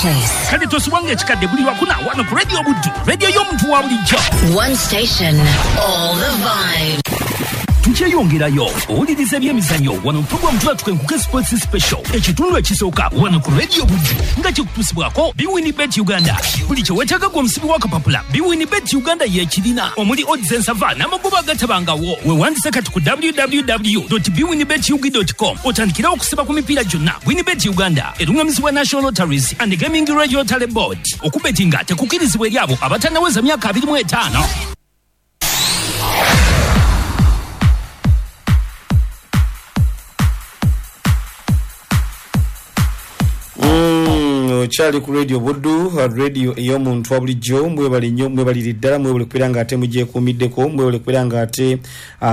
Place. Kale tosubwanga ekikadde buli lwakuna wano ku Radio Buddu, radio y'omuntu wa bulijjo. One station, all the vibes. Tukyeyongerayo owuliriza ebyemizannyo wano program tuba Enkuke Sports Special, ekitundu ekisooka wano ku Radio Buddu nga kikutuusibwako Bwin Bet Uganda. Buli kye weetaaga gwe omusibi w'akapapula, Bwin Bet Uganda y'ekirina, omuli odds ensava n'amagoba agatabangawo. Weewandise kati ku www.bwinbetug.com otandikirawo okusiba ku mipiira gyonna. Bwin Bet Uganda erungamizibwa National Lotteries and Gaming Regulatory Board. Okubetinga tekukkirizibwa eri abo abatannaweza myaka 25. Okyali ku Radio Buddu, radio ey'omuntu wa bulijjo. Mwebale nnyo, mwebalire ddala, mwebale kubeera nga ate mugyekuumiddeko, mwebale kubeera nga ate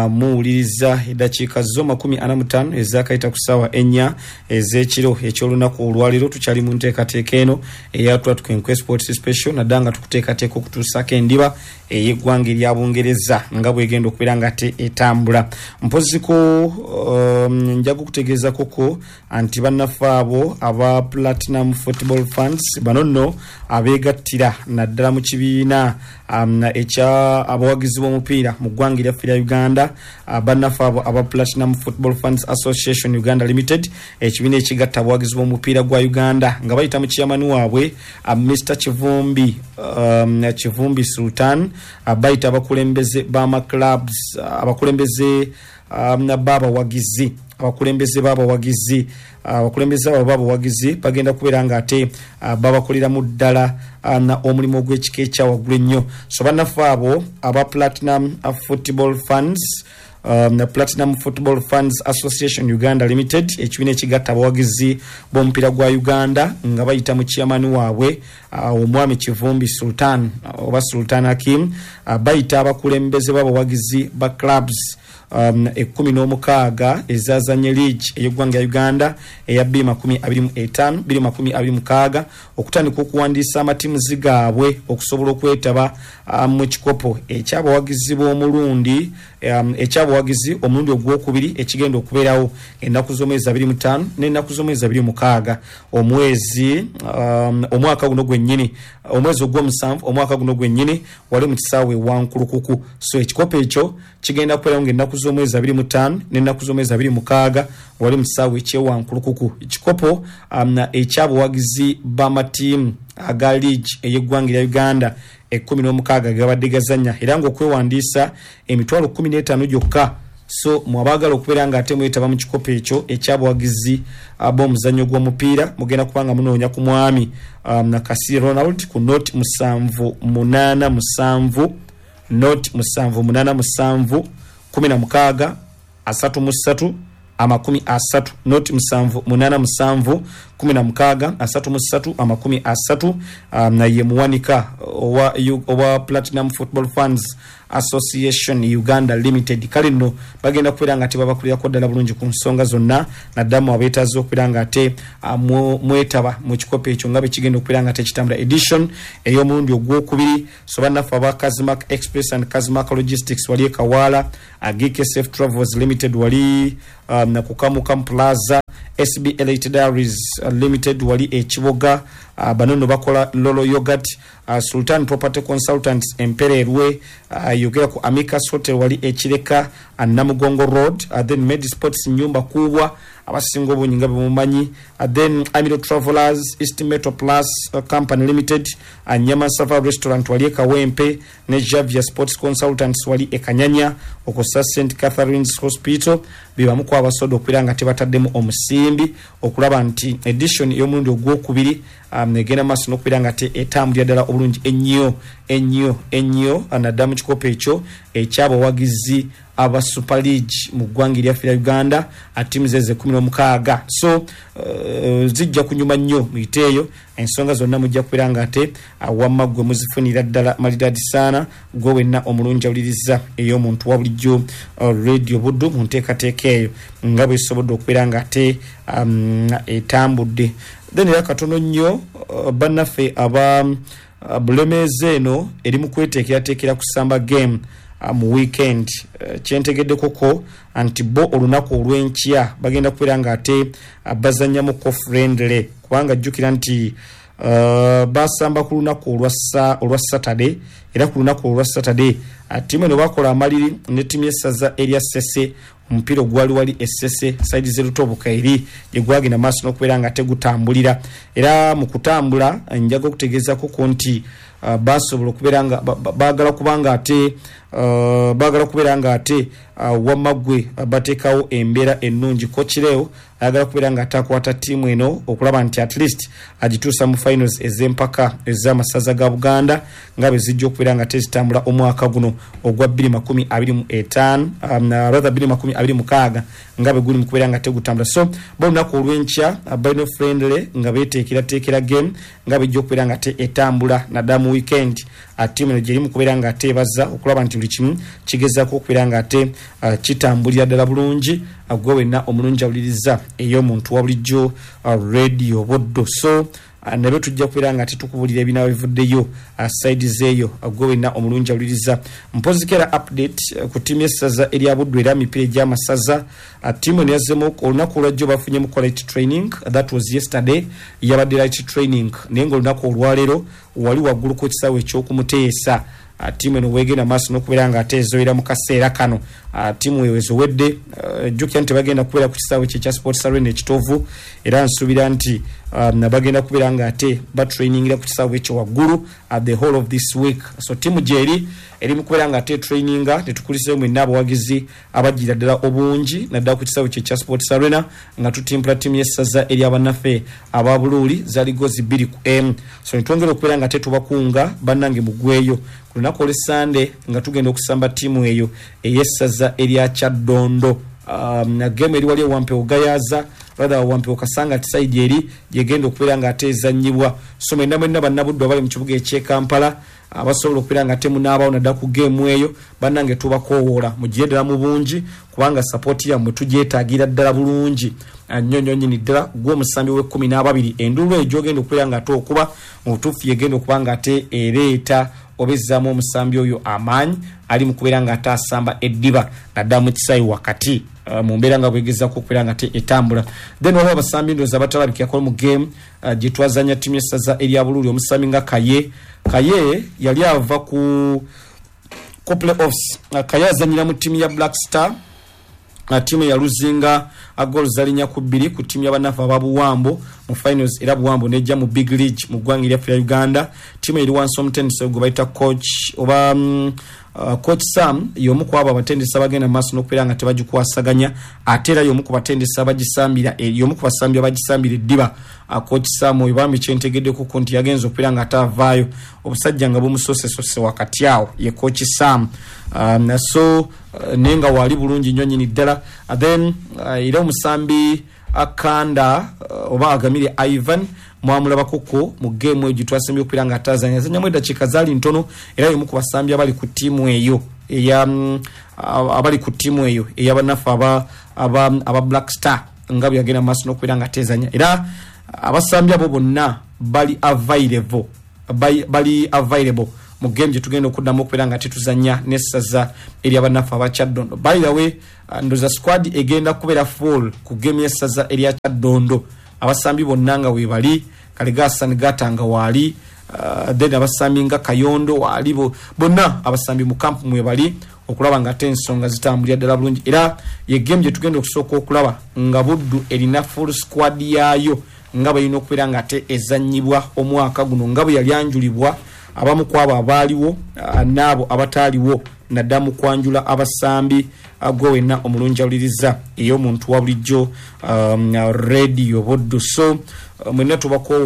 muwuliriza. Eddakiika zo 45 ezakayita ku ssaawa 4 ez'ekiro eky'olunaku olwaleero. Tukyali mu nteekateeka eno eyatula Tukenkwe Sports Special, naddala nga tukuteekateeka okutuusaako endiba ey'eggwanga erya Bungereza nga bwegenda okubeera nga ate etambula. Mpoziko njaga okutegeezakoko nti bannaffe abo aba Platinum Football Funds bano nno abeegattira naddala mu kibiina ekya abawagizi b'omupiira mu ggwanga eryaffe erya Uganda, bannaffe abo aba Platinum Football Funds Association Uganda Limited, ekibiina ekigatta abawagizi b'omupiira gwa Uganda, nga bayita mu chairman waabwe Mr Kivumbi, Kivumbi Sultan, bayita abakulembeze b'amaclubs, abakulembeze b'abawagizi, abakulembeze b'abawagizi, abakulembeze abo b'abawagizi bagenda kubeera nga ate babakoleramu ddala omulimu ogw'ekika ekyawaggulu ennyo. So bannaffe abo aba Platinum Football Funds, Platinum Football Funds Association Uganda Limited, ekibiina ekigatta abawagizi b'omupiira gwa Uganda, nga bayita mu chairman waabwe omwami Kivumbi Sultan oba Sultan Hakim, bayita abakulembeze b'abawagizi ba clubs 16 ezazanye league ey'eggwanga ya Uganda eya 2025 2026 okutandika okuwandiisa amatiimuzi gaabwe okusobola okwetaba mu kikopo ekyabawagizi b'omulundi ekyabawagizi omulundi ogwokubiri ekigenda okubeerawo ennaku z'omwezi 25 n'ennaku z'omwezi 26 omwezi omwaka guno gwennyini, omwezi ogw'omusanvu omwaka guno gwennyini, wali mu kisaawe Wankulukuku. So ekikopo ekyo kigenda kubeerawo ng'ennaku z'omwezi 25 n'ennaku z'omwezi 26 wali mu kisaawe ekyewankulukuku, ekikopo ekyabawagizi b'amatiimu aga league ey'eggwanga erya Uganda 16 gabadde gazannya, era ng'okwewandiisa 15,000 gyokka. So mwabaagala okubeera nga ate mwetaba mu kikopo ekyo ekyabawagizi b'omuzannyo gw'omupiira, mugenda kubanga munoonya ku mwami Nakasi Ronald ku 0787 0787 16 33 30, 0787 16 33 30. Ye muwanika owa Platinum Football Funds Association Uganda Limited. Kale nno bagenda kubeera nga tebabakulirako ddala bulungi ku nsonga zonna, naddamu abeetaaza okubeera nga ate mwetaba mu kikopo ekyo nga bwe kigenda okubeera nga tekitambula, edition ey'omulundi ogwokubiri. So bannaffe aba Kazimak Express and Kazimak Logistics wali e Kawaala, GKSF Travels Limited wali ku Kamukamu Plaza, SB Elite Diaries Limited wali e Kiboga, bano nno bakola Lolo Yogurt, Sultan Property Consultants Empererwe, yogera ku Amicus Hotel wali e Kireka, Namugongo Road, then Med Sports Nyumba Kubwa abasinga obungi nga bemumanyi, then Amiro Travelers, East Metro Plus Company Limited, Nyama Sava Restaurant wali e Kawempe, ne Javia Sports Consultants wali e Kanyanya okussa St Catherine's Hospital, bebamu ku abasoda okubeera nga tebataddemu omusimbi okulaba nti edition ey'omulundi ogwokubiri egenda maaso n'okubeera nga te etambulira ddala obulungi ennyo ennyo ennyo, naddala mu kikopo ekyo ekyabawagizi aba Super League mu ggwanga eryaffe lya Uganda, ttiimu zeze 16. So zijja kunyuma nnyo, muyiteeyo, ensonga zonna mujja kubeera nga ate wamma ggwe muzifunira ddala malidadi saana, gwe wenna omulungi awuliriza ey'omuntu wa bulijjo, Radio Buddu, mu nteekateeka eyo nga bwesobodde okubeera nga ate etambudde. Then era katono nnyo, bannaffe aba Bulemeezi eno eri mu kweteekerateekera kusamba game mu weekend. Kyentegeddekoko nti bo olunaku olw'enkya bagenda kubeera nga ate bazannyamuko friendly, kubanga jjukira nti Basamba ku lunaku olwa Saturday, era ku lunaku olwa Saturday ttiimu eno bakola amaliri ne ttiimu y'essaza erya Ssese. Omupiira ogwali wali Essese saidi z'erutoboka eri gye gwagenda maaso n'okubeera nga tegutambulira. Era mu kutambula njaga okutegeezako ko nti basobola okubeera nga baagala kubanga ate baagala kubeera nga ate wamma ggwe bateekawo embeera ennungi. Kokireo ayagala kubeera nga ate akwata ttiimu eno okulaba nti at least agituusa mu finals ez'empaka ez'amasaza ga Buganda nga bwe zijja okubeera nga tezitambula omwaka guno ogwa 2025, rather 2026, nga bwe guli mu kubeera nga tegutambula. So bo olunaku olw'enkya balina friendly nga beeteekerateekera game nga bejja okubeera nga te etambula naddala mu weekend. Ttiimu eno gyeri mu kubeera nga ate ebaza okulaba nti buli kimu kigezaako okubeera nga ate kitambulira ddala bulungi. Gwe wenna omulungi awuliriza ey'omuntu wa bulijjo, Radio Buddu, so nabyo tujja kubeera nga tetukubulira ebinaaba bivuddeyo side zeeyo. Gwe wenna omulungi awuliriza, mpoziko era update ku ttiimu y'essaza erya Buddu era mipiira egy'amasaza. Ttiimu eno yazzemu olunaku olwajjo, bafunyemu quality training. That was yesterday, yabadde light training, naye nga olunaku olwaleero wali waggulu ku kisaawe ekyokumuteesa ttiimu eno weegenda maaso n'okubeera nga ate ezoyera mu kaseera kano. Ttiimu eyo ezowedde. Jjukira nti bagenda kubeera ku kisaawe kye ekya Sports Arena Ekitovu, era nsuubira nti bagenda kubeera nga ate batrainingira ku kisaawe ekyo waggulu the whole of this week. So ttiimu gyeri eri mu kubeera nga ate traininga. Tetukuliseyo mwenna abawagizi abajjira ddala obungi naddala ku kisaawe kye ekya Sports Arena nga tutimpula ttiimu y'essaza eryabannaffe aba Buluuli, zaali gozi 2-1. So netwongera okubeera nga tetubakunga bannange mugweyo ku lunaku olw'Essande nga tugenda okusamba ttiimu eyo ey'essaza erya Kyaddondo. Game eri wali ewampewo Gayaza, rather Wampewo Kasanga side eri gyegenda okubeera nga ate ezannyibwa. So mwenna mwenna bannabuddu abali mu kibuga eky'e Kampala abasobola okubeera nga temunaabawo naddala ku geemu eyo, bannange tubakoowoola mugire ddala mu bungi, kubanga support yammwe tugyetaagira ddala bulungi nnyo nnyo nnyini ddala. Gwe omusambi w'e12, enduulu eyo gyogenda okubeera nga ate okuba mu butuufu yegenda okuba nga ate ereeta oba ezzaamu omusambi oyo amaanyi ali mu kubeera nga ate asamba eddiba naddala mu kisaawe wakati mu mbeera nga bwegezaako okubeera nga te etambula. Then waliwo abasambi ndowooza batalabikirako mu game gye twazanya ttiimu y'essaza erya Buluuli. Omusambi nga Kaye, Kaye yali ava ku playoffs. Kaye azanyira mu ttiimu ya Black Star, ttiimu eyaluzinga goal zalinya ku 2 ku ttiimu y'abanafu aba Buwambo mu finals, era Buwambo nejja mu big league mu ggwanga eryaffe lya Uganda. Ttiimu eri wansi omutendesi gwe bayita coach oba coach Sam, y'omu ku abo abatendesi abagenda mu maaso n'okubeera nga tebagikwasaganya, ate era y'omu ku batendesi abagisambira, y'omu ku basambi abagisambira eddiba. Coach Sam oyo bambi kyentegeddeko nti yagenza okubeera nga ate avaayo obusajja nga bumusosesose wakati awo, ye coach Sam. So naye nga waali bulungi nnyo nnyini ddala. Then era omusambi Akanda oba Agamire Ivan mwamulabakoko mu geemu eyo gye twasembye okubeera nga atazanya, azanyamu eddakiika zaali ntono, era y'omu ku basambi abali ku ttiimu eyo eya abali ku ttiimu eyo ey'abanafu aba Black Star nga bwe yagenda mu maaso n'okubeera nga atezanya. Era abasambi abo bonna bali available, bali available mu game gye tugenda okuddamu okubeera nga tetuzanya n'essaza eryabannaffe aba Kyaddondo. By the way, ndoza squad egenda kubeera full ku game y'essaza erya Kyaddondo, abasambi bonna nga weebali. Kale Gasan Gata nga waali, then abasambi nga Kayondo waali, bonna abasambi mu kampu mwebali okulaba nga ate ensonga zitambulira ddala bulungi. Era ye game gye tugenda okusooka okulaba nga Buddu erina full squad yaayo nga bwerina okubeera nga ate ezannyibwa omwaka guno, nga bwe yali anjulibwa abamu ku abo abaaliwo n'abo abataaliwo naddala mu kwanjula abasambi. Gwe wenna omulungi awuliriza ey'omuntu wa bulijjo, Radio Buddu, so mwenna tubakoowa.